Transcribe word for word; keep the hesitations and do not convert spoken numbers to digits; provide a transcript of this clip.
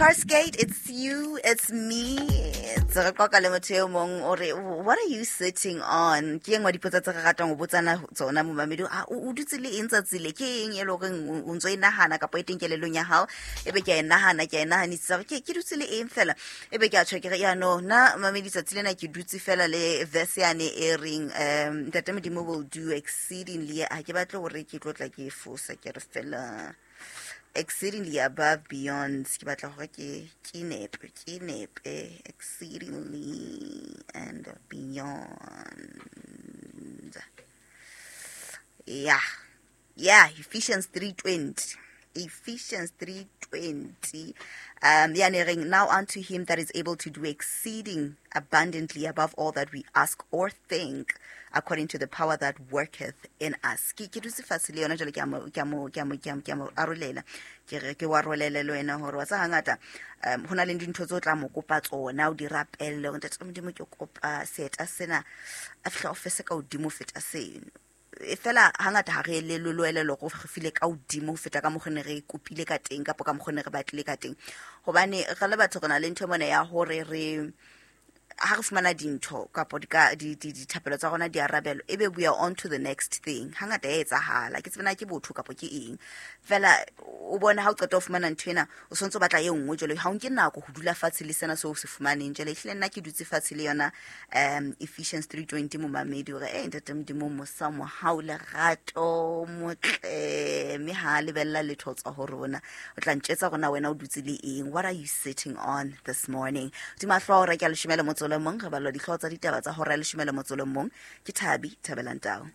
Carsgate, it's you, it's me. Tse re qoqa le motho e mong o re, what are you sitting on? Ke e nngwe ya dipotso tse re ratang ho botsana tsona, momamedi. Ah, o o dutse le eng tsatsi le? Ke eng e le horeng o o ntso e nahana kapa e teng kelellong ya hao? Ebe ke a e nahana, ke a e nahanisisa hore ke ke dutse le eng fela. Ebe ke a tjho ke re, ya no, nna mamedi tsatsi lena ke dutse fela le verse yane e reng um Ntate Modimo will do exceedingly. Ha ke batle hore ke tlo tla ke e fosa, ke re fela exceedingly above beyond. Ke batla hore ke ke nepe, ke nepe exceedingly and beyond. Yeah, yeah, Ephesians three twenty, Ephesians three twenty, um yane reng, "Now unto him that is able to do exceeding abundantly above all that we ask or think, according to the power that worketh in us." Ke ke dutse fatshe le yona jwale, ke a mo ke a mo ke a mo ke a mo ke a mo arolela, ke re ke wa rolele le wena hore wa tsa hangata um ho na le dintho tse o tla mo kopa tsona, o di rapelle hore, "Ntate Modimo, ke kopa seeta sena," a fihla o fese ka hodimo ho feta seno. E fela hangata ha re elellwe le elellwa hore re file ka hodimo ho feta ka mokgo ne re kopile ka teng kapa ka mokgo ne re batlile ka teng, hobane re le batho re na le ntho mona ya hore re ha re fumana dintho kapo dithapelo tsa rona di arabelwa, ebe we are on to the next thing. Hangata ya etsahala, ke tsebe na ke botho kapo ke eng fela. O bone ha o qeta ho fumana ntho ena, o sontso o batla e nngwe. Jwale ha o nke nako ho dula fatshe le sena seo o se fumaneng. Jwale ehlile nna ke dutse fatshe le yona um Ephesians three twenty, momamedi, hore e Ntate Modimo mosa, mohau, lerato, motle, mme ha lebella letho tswa ho rona. O tla ntjetsa rona wena o dutse le eng? What are you sitting on this morning? Hodima hlooho hora ke ya leshome le motso le mong, re balwa dihlooho tsa ditaba tsa hora ya leshome le motso le mong ke Thabi Thabelang Tau.